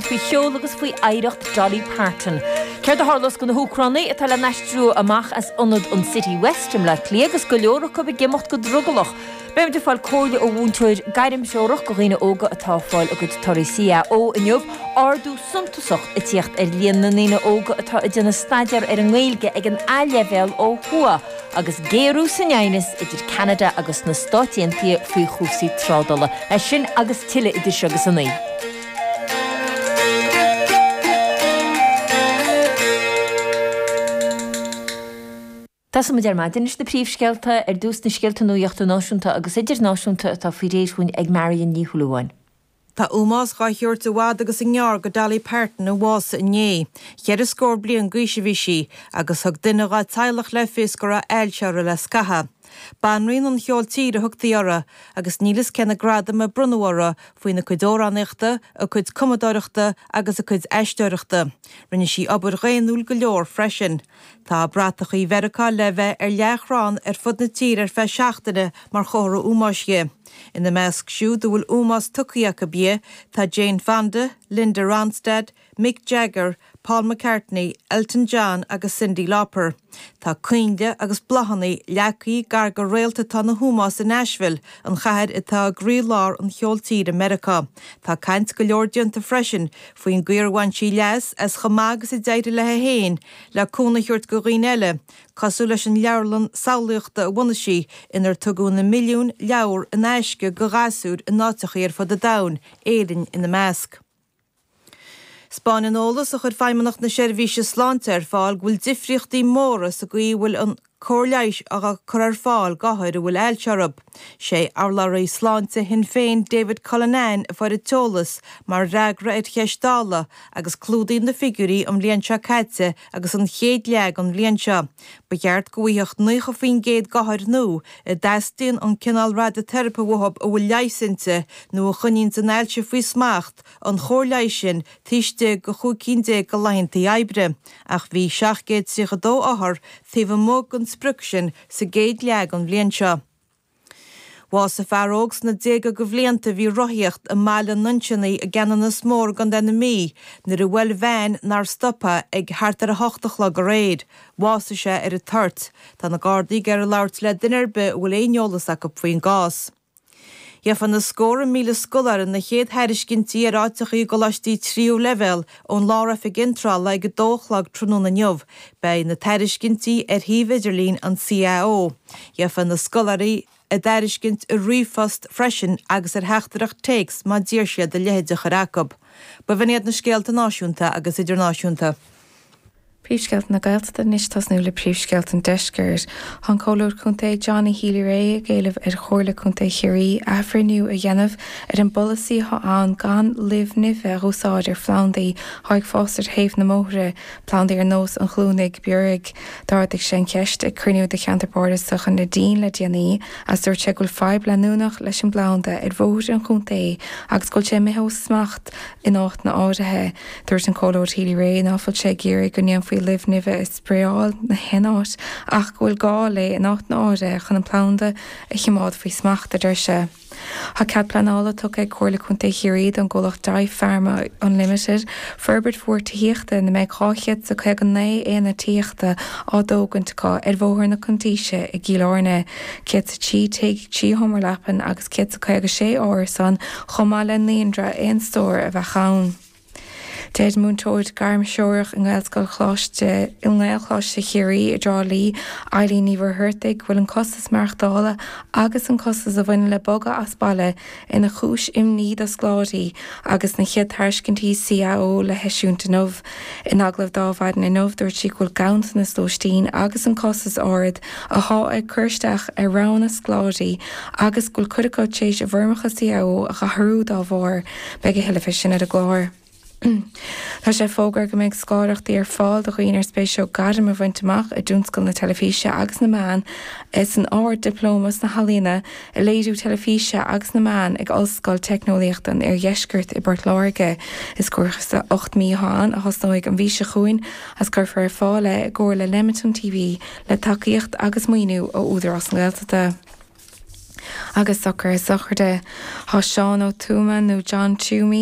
Faoi cheol agus faoi oidhreacht Dolly Parton. Céard a tharlós do na hÚcránaigh atá le n-aistriú amach as ionad an Citywest i mBleá Cliath agus go leor acu ag imeacht go drogallach? Beimid ag fáil comhairle ó mhúinteoir gairmthreorach do dhaoine óga atá ag fáil a gcuid torthaí CAO inniu. Ardú suntasach ag tíocht ar líon na ndaoine óga atá ag déanamh staidéar ar an nGaeilge ag an A-leibhéal ó thuaidh agus géarú san aighneas idir Ceanada agus na Stáit Aontaithe faoi chúrsaí trádála. É sin agus tuilleadh idir seo agus a 9. Tosóidh muid ar maidin leis na príomhscéalta, ar dtús na scéalta nuachta náisiúnta agus idirnáisiúnta atá faoi réir dhúinn ag Marion Ní Shúilleabháin. Tá ómós dhá thabhairt i bhfad agus i ngearr go Dolly Parton a bhásaigh inné. Cheithre scór bliain d'aois a bhí sí agus thug duine dhá teaghlach le fios go raibh ailse uirthi le scaitheamh. Banríon an cheoil tíre a thugtaí uirthi agus níl fhios cé na gradaim a bronnadh uirthi faoina cuid amhránaíochta, a cuid cumadóireachta agus a cuid aisteoireachta. Rinne sí obair dhaonnúil go leor freisin. Tá bratachaí Mheiriceá le bheith ar leathchrann ar fud na tíre ar feadh seachtaine mar chomhartha ómóis dhi. Ina measc siúd a bhfuil ómós tugtha acu di tá Jane Fonda, Linda Ronstadt, Mick Jagger, Paul McCartney, Elton John agus Cyndi Lauper. Tá coinnle agus bláthanna leagtha gar go réalta atá ina hómós i Nashville, an chathair atá i gcroí-lár an cheoil tíre i Meiriceá. Tá caint go leor déanta freisin faoin gcaoi ar bhain sí leas as chomh maith agus a d'éirigh léi féin le cúnamh a thabhairt go dhaoine eile, cosúil leis an leabharlann samhlaíochta a bhunaigh sí inar tugadh na milliúin leabhar in aisce go ghasúir in áiteachaí ar fud an domhain, Éirinn ina measc. 'Spáineann eolas a chuir Feidhmeannacht na Seirbhíse Sláinte ar fáil go bhfuil difríochtaí móra sa gcaoi a bhfuil an cóir leighis á cur ar fáil d'othair a bhfuil ailse orthu. Sé urlabhraí sláinte Shinn Féin David Cullinane a fuair an t-eolas mar fhreagra ar cheist Dála agus clúdaíonn na figiúirí an bhliain seo caite agus an chéad leath den bhliain seo. Ba cheart go bhfaigheadh 90% d'othair nua a dteastaíonn an cineál radaiteiripe uathu a bhfuil leigheas inti nó a choinníonns an ailse faoi smacht an chóir leighis sin taobh istigh de 15 cinn de laethantaí oibre, ach bhí 732 othar taobh amuigh den sprioc sin sa gcéad leath den bhliain seo. Bhásaigh fear óg sna déaga de bhlianta a bhí ag rothaíocht i mBaile an Nuinseannaigh i gCeanannas Mór i gContae na Mí nuair a bhuail veain nár stop é ag thart ar 8 a chlog aréir. Bhásaigh sé ar an toirt. Tá na Gardaí ag iarraidh labhairt le duine ar bith a bhfuil aon eolas acu faoin gcás. Gheofa na scórtha míle scoláire na chéad thairiscintí ar áiteachaí i gcoláistí tríú leibhéal ón Lár-Oifig Iontrála ag 2 a chlog tráthnóna inniu. Beidh na tairiscintí ar shuíomh idirlín an CAO. Gheofa na scoláirí a dtairiscint i ríomhphost freisin agus ar theachtaireacht téacs má d'iarr siad a leithéid a chur acu. B'in iad na scéalta náisiúnta agus idirnáisiúnta. Príomhscéalta na Gaeltachta anois tosnú le príomhscéalta an Deiscirt. Tá an Comhairleoir Contae Johnny Healy-Rae ag éileamh ar Chomhairle Contae Chiarraí athbhreithniú a dhéanamh ar an bpolasaí atá ann gan luibh nimhe a úsáid ar phlandaí atá ag fás ar thaobh na mbóithre, plandaí ar nós an chluanaigh bhiorraigh. D'ardaigh sé an cheist ag cruinniú de Cheantar Bardasach an Neidín le déanaí agus dúirt sé go bhfuil fadhb leanúnach leis an bplanda ar bhóithre an chontae agus go bhfuil sé imithe ó smacht in áiteanna áirithe. Dúirt an Comhairleoir Healy-Rae ná fuil sé ag iarraidh go ndéanfaí luibh nimhe a spraeáil na haon áit ach go bhfuil gá léi in áiteanna áirithe chun an planda a chimeád faoi smacht, a deir sé. Tá cead pleanála tugtha ag Comhairle Contae Chiarraí don gcomhlacht Daigh Pharma Unlimited forbairt mhór tithíochta ina mbeidh 259 aonad tithíochta á dtógaint acu ar Bhóthar na Cuntaoise i gCill Airne, 103 tigh, 3 sheomra leapan agus 156 árasán chomh maith le naíonra aon stór a bheadh ann. Deir múinteoir gairmthreorach i nGaelscoil Choláiste i nGaelcholáiste Chiarraí i dTrá Lí, Eileen Ní Mhuircheartaigh, go bhfuil an costas maireachtála agus an costas a bhaineann le bogadh as baile ina chúis imní do scoláirí agus na chéad tairiscintí CAO le heisiúint inniu. In agallamh do Adhmhaidin inniu, dúirt sí go bhfuil ganntanas lóistín agus an costas ard athá ag cur isteach ar roghanna scoláirí agus go bhfuil cuid acu tar éis a bhfoirmeacha CAO a dh'athrú dá bharr. Beidh a thuilleadh fé sin ar an gclár. Tá sé fógartha go mbeidh scoláireachtaí ar fáil do dhaoine ar spéis leo gairm a bhaint amach i dtionscal na teilifíse agus na meán san Ard-Dioplóma sna hEalaíona i Léiriú Teilifíse agus na Meán ag Ollscoil Teicneolaíochta an Oirdheiscirt i bPort Láirge. Is cúrsa 8 mí atá ann a thosnóidh an mhí seo chugainn agus cuirfear ar fáil é i gcomhar le Nemeton TV le tacaíocht agus maoiniú ó Údarás na Gaeltachta. Agus socruithe sochraide. Tá Seán Ó Tuama nó John Toomey.